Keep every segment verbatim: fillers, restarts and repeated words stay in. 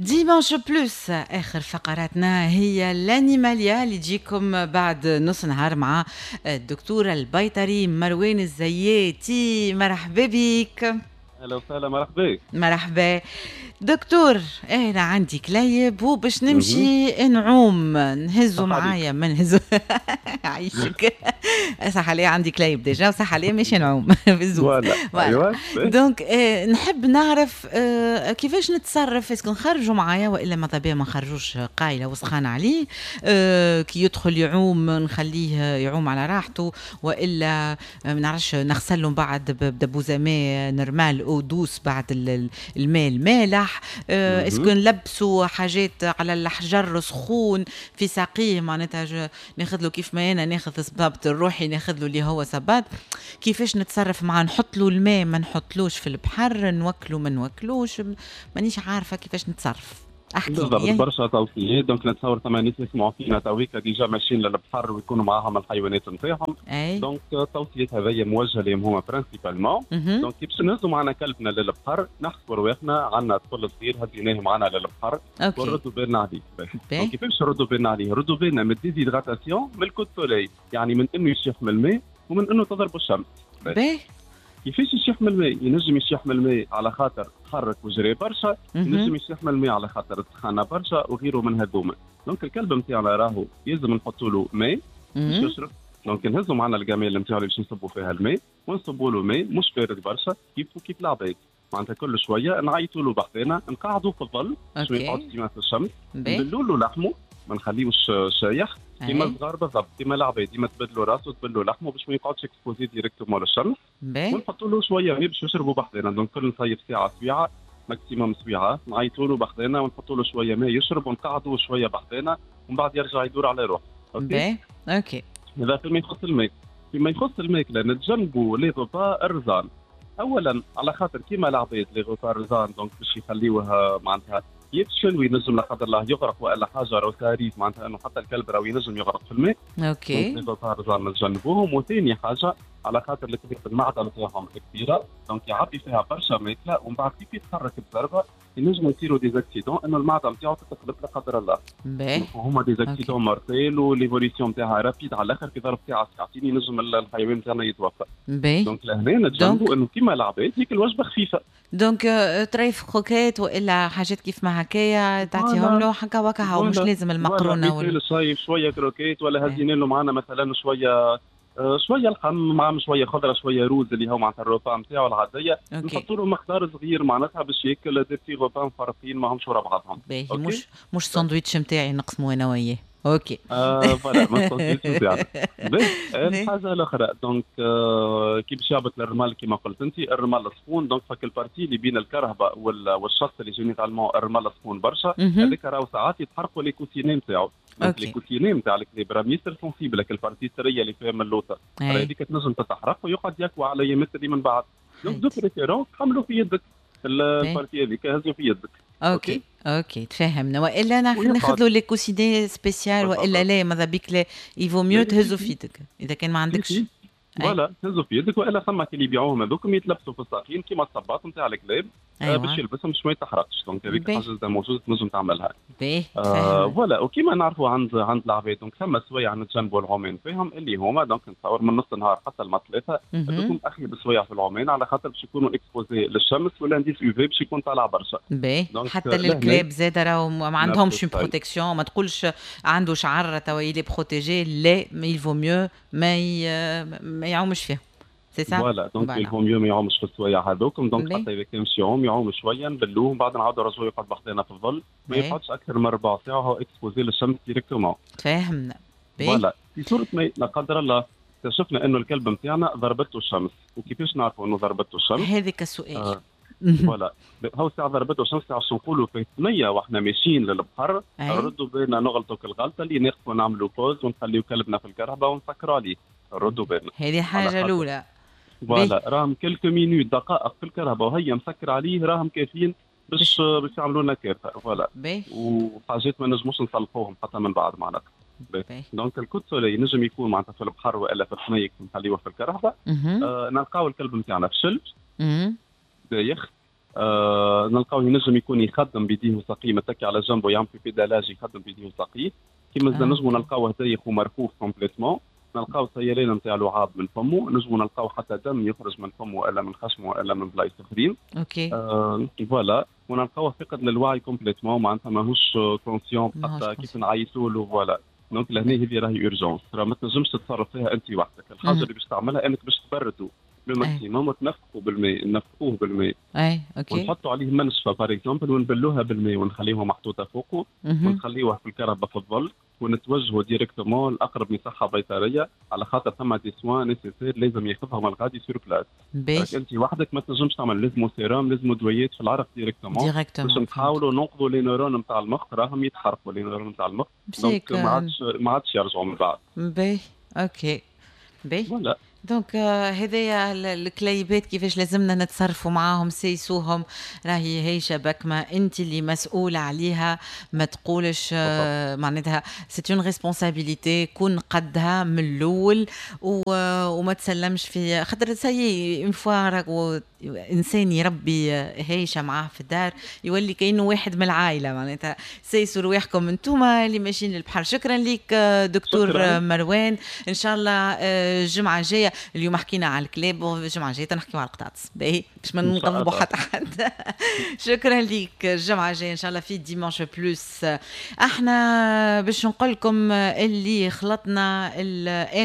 Dimanche Plus، اخر فقراتنا هي l'animalia اللي تجيكم بعد نص نهار مع الدكتور البيطري مروان الزياتي. مرحبا بك. اهلا وسهلا، مرحبا. مرحبا دكتور. انا عندي كليب وباش نمشي نعوم، نهزو معايا ما نهزو؟ عايشك، صح عليه، عندي كليب déjà وصح عليه ماشي نعوم بالزوز. ايوا. donc آه نحب نعرف آه كيفاش نتصرف، est-ce que نخرجوا معايا والا ماذا بيا ما نخرجوش، قايله وسخان عليه؟ آه كي يدخل يعوم نخليه يعوم على راحته والا ما نعرفش نغسل له بعد بدبوزه ماء normal eau douce بعد الماء المالح؟ آه، est-ce que نلبسوا حاجات على الحجر سخون في ساقيه؟ معناتها ناخذ له كيف ما انا ناخذ صبابط الروحي، ناخذ له اللي هو صباط. كيفاش نتصرف معاه؟ نحط له الماء، ما نحطلوش في البحر؟ نوكلو، ما نوكلوش؟ مانيش عارفه كيفاش نتصرف. احكي بالضبط، برشا توصيات. donc نتصور ثم ناس يسمعوا فينا تويكا déjà ماشيين للبحر ويكونوا معاهم الحيوانات نتاعهم، donc التوصيات هذيا موجهة لهم هما principalement. donc كي باش نهزوا معنا كلبنا للبحر، نحسبوا رواحنا عندنا طفل صغير هزيناه معنا للبحر ونردوا بالنا عليه. donc كيفاش نردوا بالنا عليه؟ ردوا بالنا من ال déshydratation، من ال coup de soleil، يعني من انه يشيح من الماء ومن انه تضرب الشمس. باهي. كيفاش يشيح من الماء؟ ينجم يشيح من الماء على خاطر تحرك وجري برشا، ينجم يشيح من الماء على خاطر السخانه برشا وغيره من هذوما. donc الكلب نتاعنا راهو يلزم نحطوا له ماء باش يشرب. donc نهزوا معنا ال gamelle نتاعو اللي باش نصبوا فيها الماء ونصبوا له ماء مش بارد برشا، كيف كيف العباد. معناتها كل شوية نعيطوا له بحذانا، نقعدوا في الظل باش ما يقعدش ديما في الشمس، نبلوا له لحمه، ما نخليوش شايح، كيما الصغار بالضبط، كيما العباد، ديما تبدلوا راسه، تبدلوا لحمه باش ما يقعدش exposé directement للشمس. ونحطوا له شوية ماء باش يشربوا بحذانا. donc كل نصيف ساعه، سويعه maximum سويعه، نعيطوا له بحذانا ونحطوا له شوية ماء يشرب ونقعدوا شوية بحذانا ومن بعد يرجع يدور على روحه. okay okay هذا فيما يخص الماء. فيما يخص الماكله، نتجنبوا les repas الرزان. اولا على خاطر كيما العباد les repas الرزان donc باش يخليوها معناتها يفشل وينجم لا قدر الله يغرق والا حاجه، راهو ça arrive معناتها انه حتى الكلب راهو ينجم يغرق في الماء. okay les repas الرزان نتجنبوهم. وثاني حاجة على خاطر الكلاب المعدة نتاعهم كبيره، donc يعبي فيها برشا ماكله ومن بعد كيف يتحرك بضربه ينجموا يصيروا des accidents انه المعدة نتاعو تتقلب لا قدر الله. باهي. هما des accidents mortels و l'évolution نتاعها rapide على الاخر، في ظرف ساعة ساعتين ينجم الحيوان نتاعنا يتوفى. باهي. donc لهنا نتجنبوا انه كيما العباد ياكل وجبة خفيفه. donc طريف croquettes والا حاجات كيف ما هكايا تعطيهم له هكا وكا، مش لازم المقرونه. ولا شوية croquettes ولا هزينا له معنا مثلا شوية آه، شوية لحم مع شوية خضره، شوية روز، اللي هو معناتها ال repas نتاعو العاديه. نحطوا له مقدار صغير معناتها باش ياكل des petits repas مفرقين ماهمش ورا بعضهم. باهي، مش مش ساندويتش نتاعي نقسمه انا وياه. okay. آه voilà، ما الساندويتش نتاعنا. الحاجة الاخرى donc آه كي باش يهبط للرمال، كيما قلت انت الرمال سخون، donc فك ال partie اللي بين الكرهبه والشط اللي généralement الرمال سخون برشا، هذاك راهو ساعات يتحرقوا les coussinets نتاعو. les coussinets نتاع الكلاب راهم ياسر sensibles، ال partie الطريه اللي فيها من اللوطه هذيك تنجم تتحرق ويقعد يكوى على يامات اللي من بعد. donc de préférence حملوا في يدك، ال partie هذيك هزوا في يدك. okay okay تفهمنا. والا ناخذ له les coussinets spécial والا لا؟ ماذا بيك لا، il vaut mieux تهزوا في يدك اذا كان ما عندكش. voilà، تهزوا في يدك والا ثم اللي يبيعوهم هذوك يتلبسوا في الساقين كيما الصباط نتاع الكلاب. أيوة. باش يلبسهم باش ما يتحرقش. donc هذيك حاجة موجودة تنجم تعملها. باهي. آه voilà، وكيما نعرفوا عند عند العباد، donc ثم سوايع نتجنبوا العومان فيهم اللي هما donc نتصور من نص النهار حتى الماء ثلاثه، هذوكم اخيب سوايع في العومان على خاطر باش يكونوا exposés للشمس وال indice UV باش يكون طالع برشا. باهي، حتى للكلاب زاد راهو ما عندهمش protection. ما تقولش عنده شعر توا il est protégé، لا، il vaut mieux ما ما يعومش فيه. c'est ça، voilà، donc il vaut mieux ما يعومش في السوايع هذوكم. donc حتى اذا كان مشي يعوم، يعوم شويه، نبلوه ومن بعد نعاودوا نرجعوا يقعد بحذانا في الظل، ما يقعدش اكثر من ربع ساعة هو exposé للشمس directement. تفاهمنا. voilà، في صوره ما لا قدر الله اكتشفنا انه الكلب نتاعنا ضربته الشمس، وكيفاش نعرفوا انه ضربته الشمس؟ هذاك السؤال. آه. voilà، هو ساعة ضربته الشمس، ساعة نقولوا في ثنية واحنا ماشيين للبحر، ردوا بالنا نغلطوا الغلطة اللي نقفوا نعملوا pause ونخليو كلبنا في الكرهبة ونسكروا عليه. ردوا بالنا. هذه حاجة الأولى. voilà، راهم quelques minutes، دقائق في الكرهبة وهي مسكر عليه راهم كافيين باش باش يعملوا لنا كارثه. voilà، وحاجات ما نجموش نصلحوهم حتى من بعد معناتها. donc ال coup de soleil ينجم يكون معناتها في البحر والا في الثنية نخليوه في الكرهبه، آه نلقاو الكلب نتاعنا فشل، دايخ. آه نلقاو ينجم يكون يخدم بيديه وساقيه، متكي على جنبه يعمل في pédalage، يخدم بيديه وساقيه. كيما آه. نجموا نلقاوه دايخ ومرخوف complètement، نلقاو سيلان نتاع لعاب من فمه، نجموا نلقاو حتى دم يخرج من فمه والا من خشمه والا من بلايص اخرين. OK. آه voilà، ونلقاوه فقد للوعي complètement، معناتها ماهوش conscient حتى كيف نعيطوا له. voilà، donc لهنا هذه راهي urgence، راه ما تنجمش تتصرف فيها انت وحدك. الحاجة اللي باش تعملها انك باش تبردوا le maximum وتنفخوا بالماء، نفخوه بالماء. اي OK. ونحطوا عليه منشفة par exemple ونبلوها بالماء ونخليوها محطوطة فوقه ونخليوه في الكرهبه في الظل ونتوجهوا directement لاقرب مصحه بيطريه، على خاطر ثم des soins nécessaires لازم ياخذهم الغادي sur place. انت وحدك ما تنجمش تعمل، لازمو سيروم، لازمو دويات في العرق directement directement باش نحاولوا ننقذوا les neurones نتاع المخ، راهم يتحرقوا les neurones نتاع المخ، donc ما عادش ما عادش يرجعوا من بعد. باهي، OK، باهي. voilà. donc هذايا الكليبات كيفاش لازمنا نتصرفوا معاهم، سيسوهم، راهي هي بكمة انت اللي مسؤولة عليها، ما تقولش آه، معناتها c'est une responsabilité، كون قدها من الاول وما تسلمش في خاطر ça y est، une fois راهو انسان يربي هايشه معاه في الدار يولي كانه واحد من العائله. معناتها سيسوا رواحكم انتم اللي ماشيين للبحر. شكرا لك دكتور شكرا. مروان، ان شاء الله آه، الجمعة الجايه، اليوم حكينا على الكلاب والجمعة الجاية نحكيو على القطاطس، باهي، باش ما نغضبوا حتى حد. شكرا لك، الجمعة الجاية ان شاء الله في dimanche plus. احنا باش نقول لكم اللي خلطنا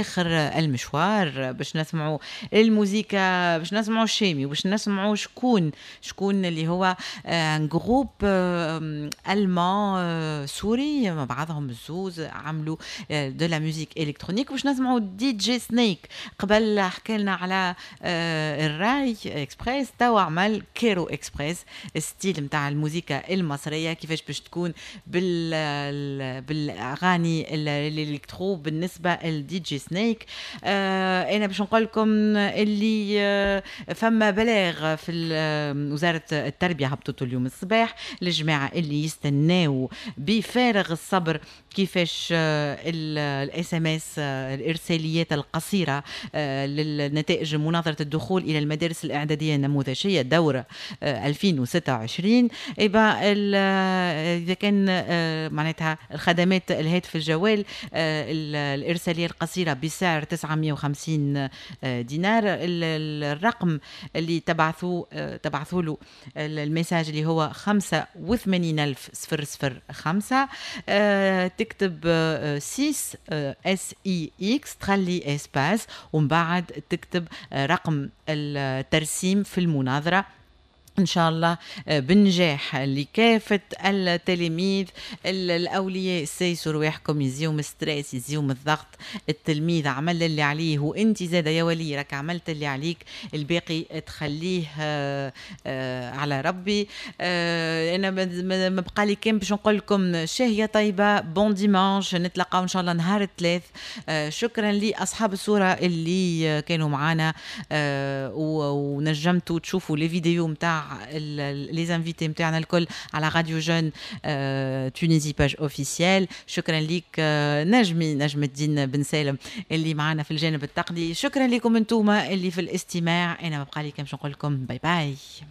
اخر المشوار باش نسمعوا الموزيكا، باش نسمعوا الشامي وباش نسمعوا شكون شكون اللي هو un groupe allemand سوري مع بعضهم الزوز عملوا de la musique électronique، باش نسمعوا DJ Snake. قبل حكى لنا على الراي اكسبريس، توا عمل Cairo Express، style نتاع الموسيقى المصرية كيفاش باش تكون بال بالاغاني ال électro بالنسبة لل DJ Snake. انا باش نقول لكم اللي فما بلاغ في وزارة التربية هبطته اليوم الصباح للجماعة اللي يستناو بفارغ الصبر كيفاش ال SMS، الارساليات القصيرة للنتائج مناظرة الدخول الى المدارس الاعدادية النموذجيه دوره ألفين وستة وعشرين. يبقى اذا كان معناتها الخدمات الهاتف الجوال الارسالية القصيرة بسعر تسعمية وخمسين دينار، الرقم اللي تبعثوا تبعثوا له ال message اللي هو خمسة وثمانين ألف صفر صفر خمسة، تكتب ستة S I X، تخلي espace ومن بعد تكتب رقم الترسيم في المناظره. ان شاء الله آه، بالنجاح لكافة التلاميذ. الاولياء سيسوا رواحكم، يزيهم stress، يزيهم الضغط. التلميذ عمل اللي عليه وانت زاد يا ولي راك عملت اللي عليك، الباقي تخليه آه، آه، على ربي. انا ما بقى لي كان باش نقول لكم شهية طيبه، bon dimanche، نتلاقاو ان شاء الله نهار الثلاث. شكرا لاصحاب الصورة اللي كانوا معنا ونجمتوا تشوفوا les vidéos نتاع les invités نتاعنا الكل على Radio Jeunes Tunisie page officielle. شكرا لك نجمي نجم الدين بن سالم اللي معنا في الجانب التقني. شكرا لكم انتم اللي في الاستماع. انا ما بقى لي كان نقول لكم bye bye.